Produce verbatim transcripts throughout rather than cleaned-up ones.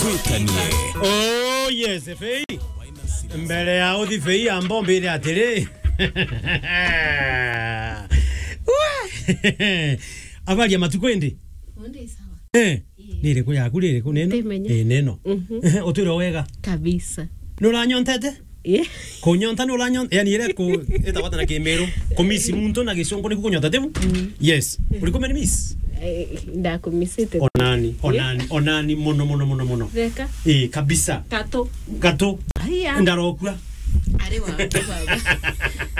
Twikanie. Oh, yes, Fei. Mbere ya uthi Fei, amba umbire atiri. Wee! Habari ya matuku indi? Undi sawa. Eh, ii. Ni iriku yaku, ni iriku neno? Ndimenya. Eh, neno. Mhm. Utwire wega. Kabisa. Ni uranyontete? Eh. Kunyonta ni uranyon-, yani, ire ku-, ita wata na Kimiru. Kumisi muntu na Gicongo ni kunyonta, tibu? Mm. Yes. Uri kumeni miss? Eh, ndakumisite. Onani, onani, onani, muno, muno, muno, muno. Theka. Eh, kabisa. Katu. Katu. Aya. Ndarokua. Ari waku, baba.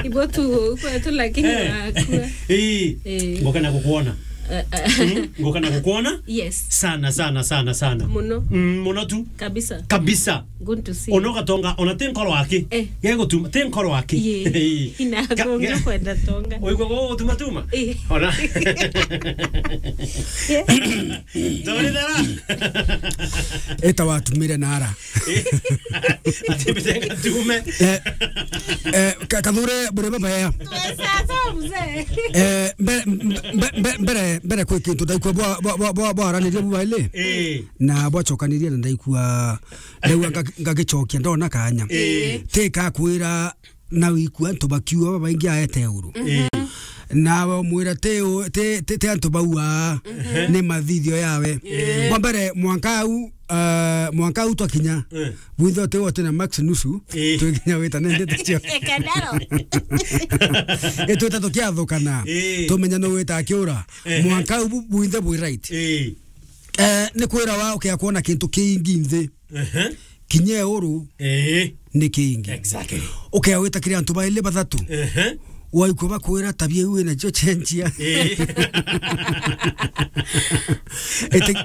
Ibo tu, kwetu lakini Eh. wakua. Eh. Eh. Ngoka na kukuona. Eh, eh. Mm, ngoka na kukuona. Yes. Sana, sana, sana, sana. Muno. Mm, muno tu. Kabisa. Kabisa. Good to see you. Ona ugatonga, ona ti nkoro aki. Eh. Gegutuma, ti nkoro aki. Ye. Ina Ka-, gongo ge-, kwenda tonga. Uigua go gutuma tuma? Eh. Ona. Ye. Ndorithera. Eta watumire nara. Eh. Ati mbitenga tume. Eh, eh, ka-, Kathure, bure baba ya. Tuwe sasa, mzee. Eh, mbe-, mbe-, mbe-, mbere, mbere kwi kintu ndaikua bwa, bwa, bwa, bwa, bwaranirie bubaili. Eh. Na bwacokanirie na ndaikua, ndaigua nga-, ngagicokia ndona kanya. Eh. Ti kakwira na wikua antu bakiua babaingi aete uru. Eh. Na wamwira ti u-, ti, ti, ti antu bauaa, Mhm. ni mathithio yawe. Eh. Bwa mbere, mwanka au, ah, mwanka au twakinya, Eh. bwinthe uti wote na Max nusu, Eh. twikinya wita nende tucio. Ekadaro. Itwita tukiathukana, Eh. tumenya no wita akiura. Eh. Mwanka au bu-, bwinthe bwi right. Eh. Eh, ni kwira wa ukia kuona kintu kiingi nthi. Ehe. Kinya uru Ee. ni kiingi. Exactly. Ukia wita kiri antu baili bathatu. Ehe. Waikua bakwira tabia iu wina cio cenjia. Ee. Iti-,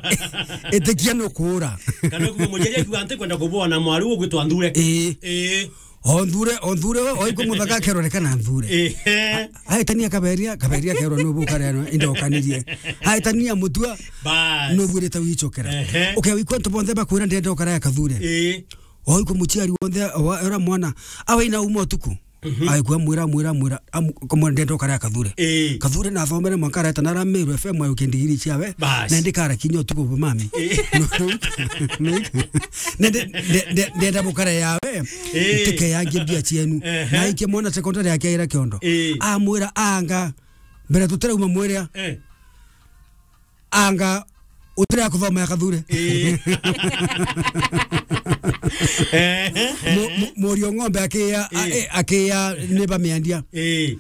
itikia nukuura. Kana kuma muciari akiuga ntikwenda kubona mwari ugwitwa nthure. Ee. Ee. O nthure, o nthure, o ikwa muthaka akerwa, "Reka na nthure." Ehe. Aitania kaberia, kaberia akerwa, "Nubu ukareno, indokanirie." Aitania mutua, Bas. "Nubu irite wichokera." Ehe. Ukewa ikwa antu bonthe bakwira, "Ndenda ukara ya kathure." Ee. O ikwa muciari wonthe, wa, ura mwana, awe ina uma utuku. Mhm. Aikwa mwira, mwira, mwira, am-, kamwira, "Ndenda ukara ya kathure." Ee. Kathure na athomere mwanka areta na Meru F M ayo kindigiri ciawe. Bas. Na ndikara kinya utuku bumami. Ee. Nende, nde-, nde-, ndenda bukara yawe. Ee. Ntike yangi mbia cienu. Ehe. Na ikie mwana secondary yake ira kiondo. Ee. Amwira, "Anga, mbere tutirauma mwiria." Ee. "Anga, utira kuthoma ya kathure." Ee. Ehe. Mu-, mu-, murio ng'ombe akia, a-, Ee. e-, akia ni bamiendia. Ee.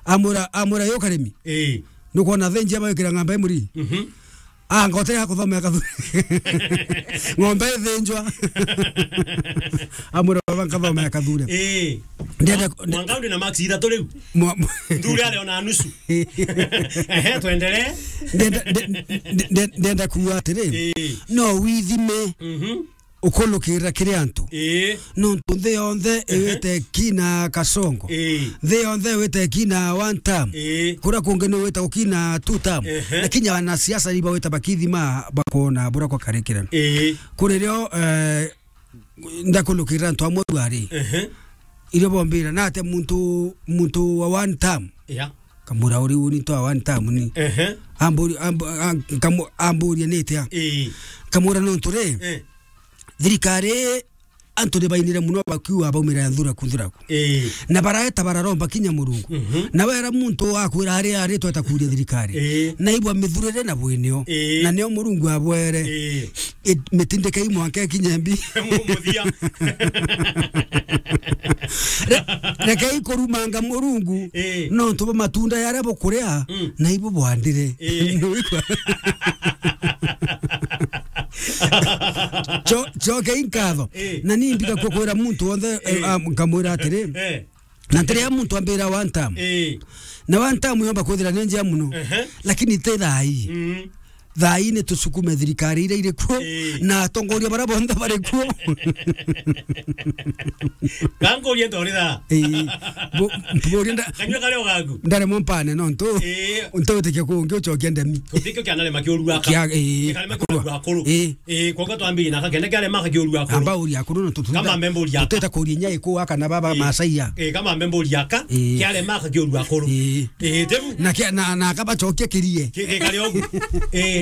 Amwira, amwira, "Yo karimi. Ee. Nukwona thenjia bagikira ng'ombe muri?" Mhm. "Anga, utira kuthoma ya kathure." Ng'ombe ithinjwa. Amwira, "Baba, nkathoma ya kathure." Ee. Ndenda Mwa-, mwanka undi na max ithatu riu. Mwa-, mwa- Nthure ari ona nusu. Ehe, twendelee. Ndenda, nde-, nde-, nde-, ndenda kuuga atiri, Ee. no withime Mhm. ukulukirira kiri antu. Ee. Nontu nthi yonthe Ehe. iwite kina kasongo. Ee. Nthi yonthe iwite kina one term. Ee. Kuria kungi ni wita ukina two term. Ehe. Lakini wanasiasa ni bawita bakithima bakona bura kwa karikira. Ee. Kuri rio, eh, ndakulukirira antu amwe bwari. Ehe. Irio bombira, "Nate muntu, muntu wa one term?" Yeah. Kamura uri uni to wa one term ni. Ehe. Amburi-, amb-, a-, kamu-, amburia ni atia? Ii. Kamura nontu ri, Eh. thirikari antu ni bainire muno bakiuga baumira ya nthuraku, nthuraku. Ii. Na baraeta bararomba kinya Murungu. Mhm. Na wera muntu akwira ari, ari tweta kuria thirikari. Ii. Na ibwa mithurire na bwinio. Ii. Na nio Murungu abwere. Ii. It-, mitindikei mwanka ikinye mbi. Mu-, muthia. Re-, rekei kurumanga Murungu, Eh. nontu bwa matunda yaria bukuria, Mm. na ibu bwandire. Eh. Cho-, chokei nkatho. Eh. Na ni mbika kukwira muntu wonthe, Eh. ah, nkamwira atiri, Eh. Na ntiria muntu ambira one term. Ii. Na one term yomba kwithira ni njia muno. Ehe. Lakini ti thaa ii. Mm. Thaa ii ni tusukume thirikari iria iri kuo, Ii. na atongoria baria bonthe bari kuo. Kankurie ntori thaa. Ii. Bo-, mburie nda-, Kanyua karia ugaku. Ndaremwa mpane nontu Ii. ntawitikia kungi ucokia ndemi. Kuthikio kia narema kiurua aka. Kia, ii. Kikarema kiurua akuru. Ii. Ii, kwa hivyo twambie na kakende kiarema kiurua akuru. Amba uria akuru na tutu-, Kama membe uria aka. Tuteta kuria inya ikua kana baba Ii. Masaia. Ii, kama membe uria aka, Ii. kiarema kiurua akuru. Ii. Ii, tebu. Na kia, na, na kaba chokia kirie. Ki-, ki-, kari ogu. Ii.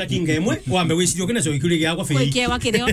dakinga imwe, wambe wicirie ukina cio ikuri giakwa fei. Gwikiwa kirio.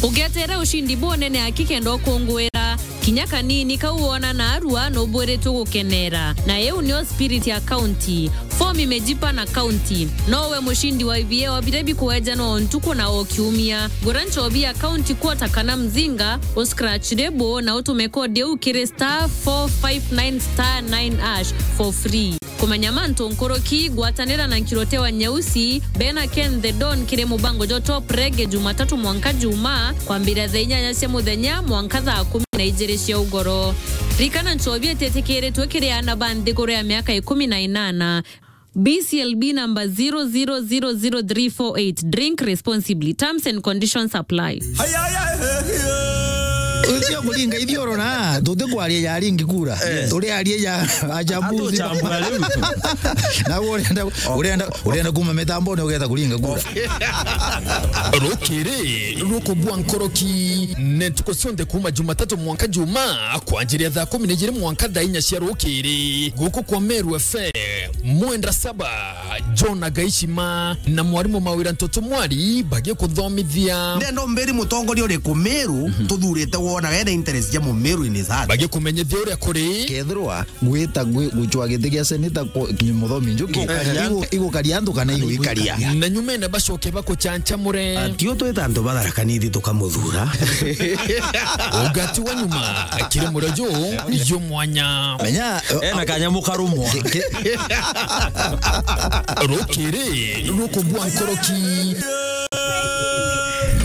Ugetere ushindi bunene aki kenda ukungwira. Kinya kanini kau wona narua nubwiritwe gukenera. Na iu nio spirit ya county. Form imejipa na county. Nowe mushindi wa ibieo biria bikuejanwa o ntuku na o kiumia. Gura nchobi ya county quarter kana mzinga, uscratch lebo na utume code iu kiri star four five nine star nine hash for free. Kumenya mantu nkuruki, gwatanira na Nkirote wa Nyeusi, Bena Ken the Don kiri mubango jwa Top Reggae Jumatatu mwanka Juma, kwambiria thaa inyanya cia muthenya mwanka thaa kumi na ijiri cia ugoro. Rikana nchobi ititikiritwe kiri aana ba nthiguru ya miaka ikumi na inana. B C L B number zero zero zero zero three four eight. Drink responsibly. Terms and conditions apply. Ucio kuringa ithioro na, tutikwaria ya ringi kura. Eh. Turiaria ya ajabuzi. Atuchambura riu. Na urenda, urenda, urenda kuma mitambone ugetha kuringa kura. Rukiri rukubua nkoroki, ne ntuku cionthe kuma Jumatatu mwanka Juma, kwanjiria thaa kumi na ijiri mwanka thaa inya cia rukiri, guku kwa Meru F M. Mwenda Saba, John Agaishima na mwarimu Mawira Ntoto Mwari bagikuthomithia. Ndenda umbiri mutongoria uriku Meru, mhm, tuthurite wona wena interest ja Mumeru in his heart. Bagikumenyithia uria kuri. Kethirwa gwita gwi-, gucwa giti gia seneta ku-, ki-, Muthomi Njuki, igukaria antu kana iguikaria. Na nyumene bacoke bakuchanchamure. Atio twita antu ba Tharaka Nithi tukamuthura. Ugati wa nyuma, kiri murio ju, ju mwanya. Menya, ena kanyamu karumwa. Ki-, ki-, rukiri rukubua nkoroki.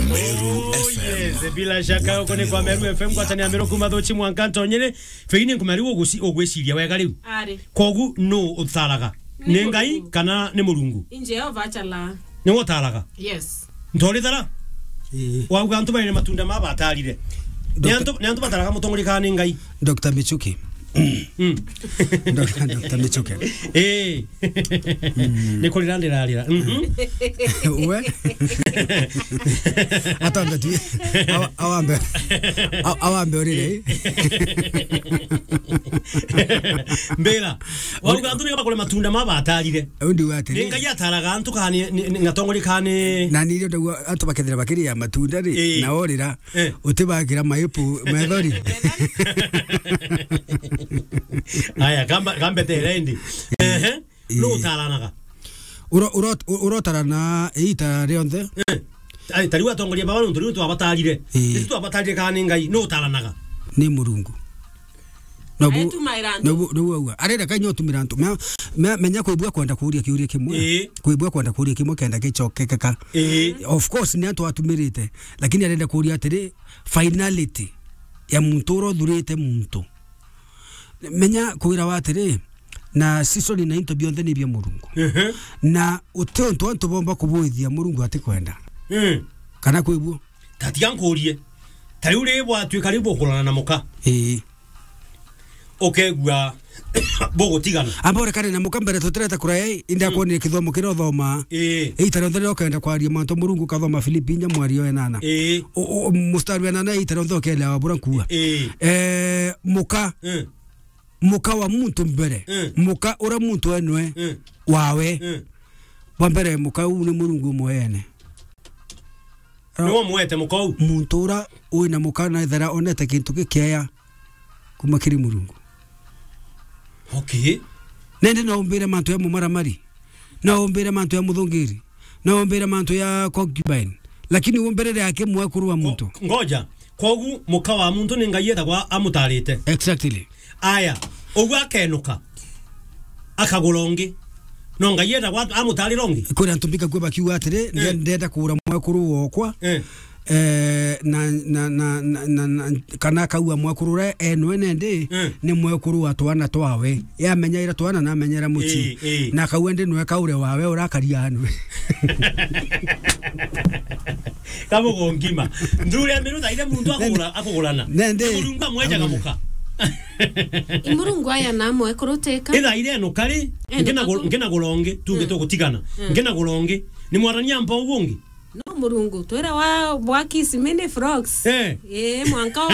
Meru F M. Yes, bila shaka, uko ni kwa Meru F M, ngwatania Meru kuma Thuchi mwanka Ntonyere. Feini nkumari uguci-, ugwiciria wega riu. Ari. Kogu nu utaraga? Ni Ngai Murungu. Kana ni Murungu? Ni Jehova achala. Ni utaraga? Yes. Ntorithara? Ii. Wauga antu baine matunda ma batarire. Ni Doctor antu, ni antu bataraga mutongoria kana ni Ngai? Doctor Michuki. Mm. Doctor, Doctor Michuki. Eh. Mm. Ni kurira ndirarira. Mhm. We? Atambe tu. Awa-, awambe. A-, awambe urire. Mbira. Wauga antu ni bakore matunda ma batarire. Undi wa atiri. Ni Ngai ataraga antu kana ni, ni, ni ngatongoria kana ni. Na ni rio ndauga antu bakethira bakiria matunda ri, ii, na orira, eh, utibakira maipu methori. Aya, kamba, kambe tere ndi. Ehe. Ii. Nu utaranaga? Uro-, uro-, urotarana iita rionthe. Eh. Ai, tariu atongoria baba nontu riu twabatarire. Ii. Riu twabatarire kana ni Ngai, nu utaranaga? Ni Murungu. Nobu, aetumaira antu. Nobu, nobu aua. Arenda Ngai nyo utumira antu. Me-, me-, menya kwibua kwenda kuuria kiuria kimwe. Ii. Kwibua kwenda kuuria kimwe kenda gicokekeka. Ii. Of course, ni antu atumirite. Lakini arenda kuuria atiri, finality ya muntu ura uthurite muntu. Menya kwira wa atiri, na season na into bionthe ni bia Murungu. Ehe. Na uti untu antu bomba kubuithia Murungu atikwenda. Mm. Kana kwibua? Tatiga nkurie. Ta riu ri bwatuika riu bukurana na muka. Ii. Ukegua bugutigana. Amba urekane na muka mbere tutireta kuraya, indi, mm, akwonire kithomo kiria uthoma. Ii. Ita rionthe riria ukenda kwaria mantu Murungu ukathoma Filipi inya mwari o enana. Ii. U-, u-, mustari wa enana ita rionthe ukelewa bura nkuuga. Ii. Eh, muka. Mm. muka wa muntu mbere. Mm. Muka ura muntu enwe. Mm. Wawe. Mm. Wa mbere muka uu ni Murungu umwe ene. Niwe umwete muka uu? Muntu ura wina muka na ethera onete kintu gikieya kuma kiri Murungu. Okay. Nende no umbire mantu ya mumaramari. No umbire mantu ya muthungiri. No umbire mantu ya concubine. Lakini umbirire ake mwekuru wa muntu. Ngo-, ngoja. Kogu muka wa muntu ni Ngai ethagwa amutarite. Exactly. Aya, ugu akenuka. Akagura ungi. No Ngai ethagwa amutarira ungi. Kuri antu mbika kwe bakiuga atiri, eh, nde-, ndenda kugura mwekuru wokwa. Eh. Eh, na, na, na, kana akaua mwekuru uria enwe nendi, mm, ni mwekuru wa twana twawe. Yamenyaira twana na amenyera mucii. Ii, ii. Na akaua ndi nwe kaure wawe urakaria anwe. Kamugo ngima. Nthuri ya miru thaire muntu akugura, akugurana. Nendi. Murungu amwenjaga muka. I Murungu aya na mwekuru teka. Ithaire no kari, ene ngina gu-, kaku-, ngina gura ungi, tungi, mm, tugutigana. Mm. Ngina gura ungi. Ni mwarania mpa ugu ungi. No Murungu, twira wa, wa kiss mini frogs. Eh. Eh, mwanka wa